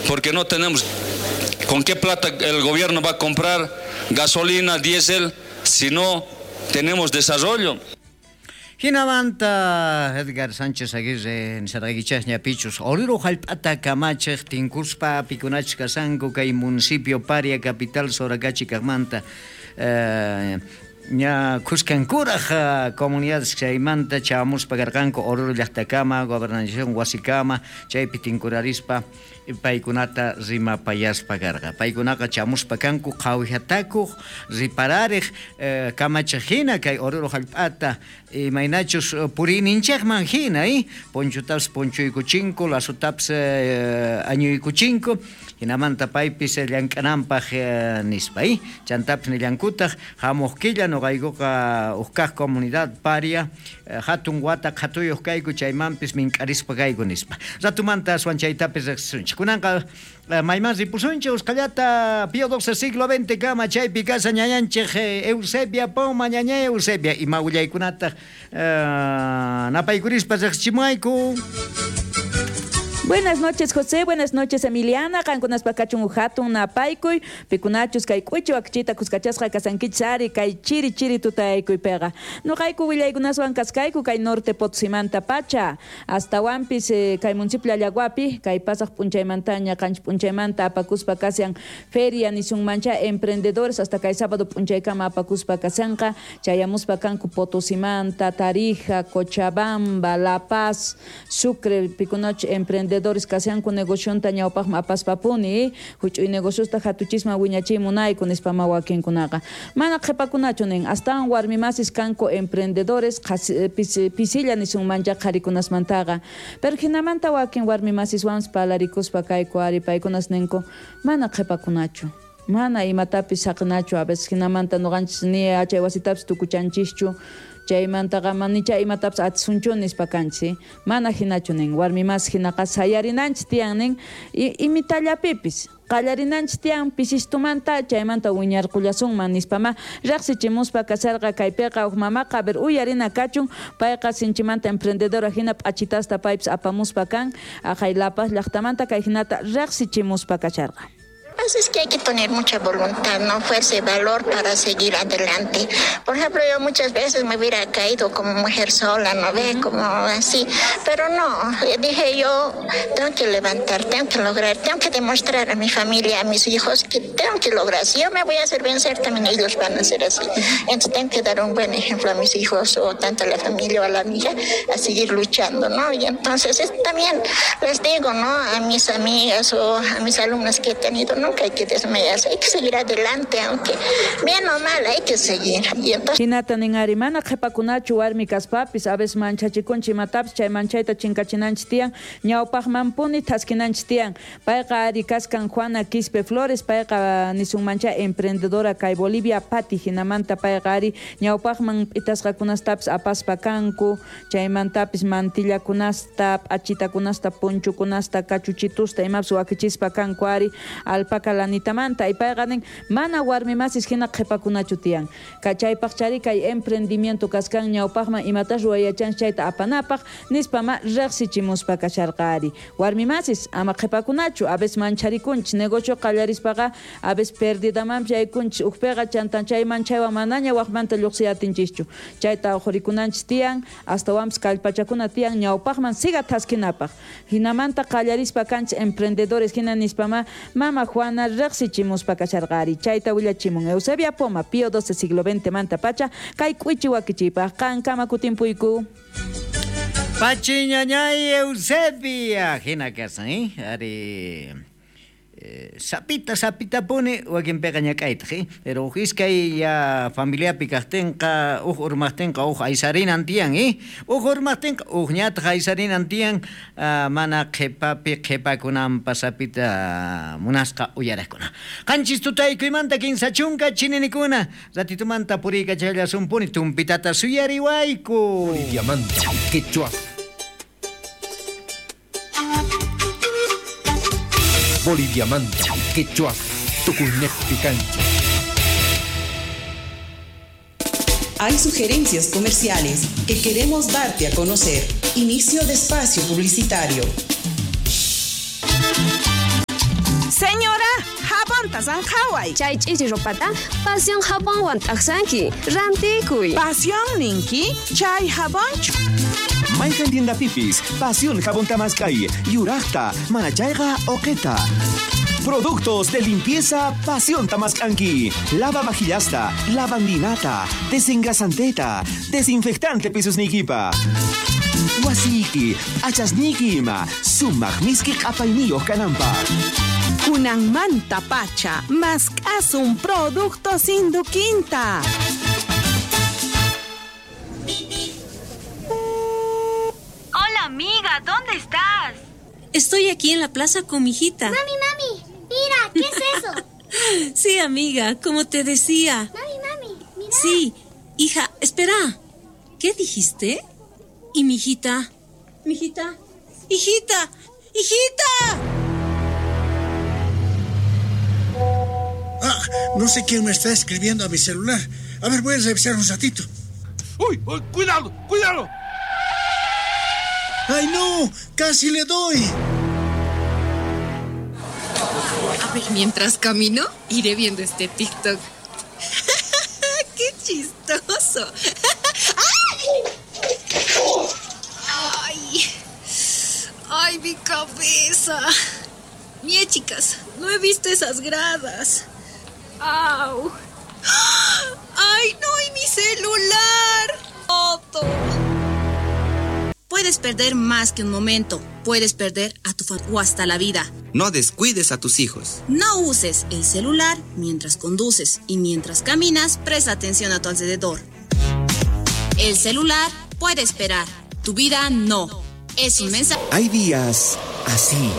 Porque no tenemos con qué plata el gobierno va a comprar gasolina, diésel, si no tenemos desarrollo. Jinamanta Edgar Sánchez Aguirre nisarqaykichasña pichus Oruro jallp'ata kamachej tinkuspa pikunachus kasanku kay municipio Paria capital Soracachi kajmanta ña khuskankuraj comunidades chaymanta chamuspa karqanku Oruro llaqtakama gobernación wasikama chaypi tinkurarispa paykunata rimapayaspa karqa paykunaqa chamuspa kanku qhawihatakuq ripararej kamachej hina kay Oruro jallp'ata imaynachus puriyninchejman hina ponchutapis ponchuykuchinku lasutapis añuykuchinku hinamanta paypis llank'ananpaj nispa chantapis nillankutaq hamuq killa noqaykuqa uj comunidad Paria hatun wata qhatuyuq kayku chaymanpis mink'arispa kayku nispa ratumanta aswan chaytapis riqsisunchik kunanqa mayman ripusunchik usqhallata Pío XII siglo XX kama chaypi kasa ñañanchik Eusebia Poma ñaña Eusebia ima willaykunataq napaykurispa riqsichimuayku. Buenas noches, José. Buenas noches, Emiliana. Qankunaspa kachun uhatun napaykuy. Pikunachus kay k'uchu akchita kuskachasqa kasankichis kay chiri chiri tutaykuypiqa. Nuqayku willaykunaswan kaskayku kay norte Potosímanta pacha. Astawanpis kay municipio Allaguapi kay pasaq p'unchaymantaña qanchis p'unchaymanta apakuspa kashan feria nisunmancha emprendedores hasta kay sábado p'unchaykama apakuspa kashanqa chayamuspa kanku Potosímanta, Tarija, Cochabamba, La Paz, Sucre pikunach emprendedores kashanku negocionta ñawpaqman apaspapuni huch'uy negociosta hatuchisman wiñachiy munayku nispama wakinkunaqa mana qhipakunachu nin astawan warmimasis kanku emprendedores pisilla nisunmancha qharikunasmantaqa pero hinamanta wakin warmimasiswanpas palarikuspa kayku ari paykunas ninku mana qhipakunachu mana imatapis saqinachu a veces hinamanta nuqanchis ni achay wasitapis tukuchanchischu chaymantaqa manicha imatapis atisunchu nispa kanchis mana hinachu nin warmimas hinaqa sayarinanchis tiyan nin imitallapipis qallarinanchis tiyan pisistumanta chaymanta wiñarqullasunman nispama riqsichimuspa kasarqa kaypiqa huk mamaqa a ver uyarina kachun payqa sinchimanta emprendedora hina p'achitasta paypis apamuspa kan aqhay La Paz llaqtamanta kay hinata riqsichimuspa kasharqa. Pues es que hay que tener mucha voluntad, ¿no? Fuerza y valor para seguir adelante. Por ejemplo, yo muchas veces me hubiera caído como mujer sola, ¿no ve? Como así. Pero no, dije yo, tengo que levantar, tengo que lograr, tengo que demostrar a mi familia, a mis hijos que tengo que lograr. Si yo me voy a hacer vencer, también ellos van a ser así. Entonces tengo que dar un buen ejemplo a mis hijos o tanto a la familia o a la amiga a seguir luchando, ¿no? Y entonces también les digo, ¿no? A mis amigas o a mis alumnas que he tenido, ¿no? Nunca hay que desmayarse, hay que seguir adelante, aunque bien o mal hay que seguir. Y entonces... Hinata nin ari mana qhipakunachu warmi kaspapis a veces manchachikunchik imatapis chay manchayta chinkachinanchis tiyan ñawpaqmanpuni thaskinanchis tiyan payqa ari kaskan Juana Quispe Flores payqa nisunmancha emprendedora kay Bolivia Pati hinamanta payqa ari ñawpaqman p'itasqakunastapis apaspa kanku chaymantapis mantillakunasta p'achitakunasta ponchukunasta kachuchitusta imapis wakichispa kanku ari alpaca lanitamanta y payqa nin mana warmimasis hina qhipakunachu tiyan kachaypaq chari kay emprendimiento kaskan ñawpaqman imatas ruwayachanchis chayta apanapaq nispama riqsichimuspa kasharqa ari warmimasis ama qhipakunachu a veces mancharikunchis negocio qallarispaqa a veces perdidamanpis yaykunchis ukpiqa chantan chay manchaywan manaña waqmanta lluqsiyatinchischu chayta uqurikunanchis tiyan astawanpis kallpachakuna tiyan ñawpaqman siga thaskinapaq hinamanta qallarispa kanchis emprendedores hina nispama mama Juana riqsichimuspa kasharqa ari chayta willachimun Eusebia Poma Pío XII siglo XX manta pacha kay k'uichi wakichiypaq qankama kutimpuyku. Pachi ñañay Eusebia hina kasan ari sapita sapita puni wakinpiqa ñak'aytaq pero uj iskay ya familiapi kaqtinqa uj urmaqtinqa uj aysarinan tiyan uj urmaqtinqa uj ñataq aysarinan tiyan mana qhipapi qhipakunanpa sapita munasqa uyaraqkuna qanchis tutaykuymanta 30 chininikuna ratitumanta puriykachallasunpuni tumpitata suyariwayku. Boliviamanta Quechua Boliviamanta, Quechua, Tucunejpi Cancha. Hay sugerencias comerciales que queremos darte a conocer. Inicio de espacio publicitario. Señora, jabonta zanjaway. Chay ch'ichi ropata Pasión jabonwan t'aqsanki. Rantikuy. Pasión ninki, chay jabonchu. Mayqan tiendapipis, Pasión jabonta mask'ay, yuraqta, manachayqa uqita. Productos de limpieza Pasión Tamascanqui. Lava vajillasta, lavandinata, desengrasanteta, desinfectante pisusniykipa. Wasiyki, p'achasniyki ima, sumaq miski q'apayniyuq kananpaq. Kunanmanta pacha, mask'asun productos Induquinta. Hola amiga, ¿dónde estás? Estoy aquí en la plaza con mi hijita. Mami, mami, mira, ¿qué es eso? Sí, amiga, como te decía. Mami, mami, mira. Sí, hija, espera. ¿Qué dijiste? ¿Y mi hijita? ¿Mi hijita? ¡Hijita! ¡Hijita! Ah, no sé quién me está escribiendo a mi celular. A ver, voy a revisar un ratito. ¡Uy! uy, ¡Cuidado! ¡Cuidado! ¡Ay, no! ¡Casi le doy! A ver, mientras camino, iré viendo este TikTok. ¡Qué chistoso! ¡Ay! ¡Ay, mi cabeza! Mie, chicas, no he visto esas gradas. ¡Au! ¡Ay, no! ¡Y mi celular! ¡Otto! Puedes perder más que un momento. Puedes perder a tu familia o hasta la vida. No descuides a tus hijos. No uses el celular mientras conduces y mientras caminas, presta atención a tu alrededor. El celular puede esperar, tu vida no. Es un mensaje. Hay días así.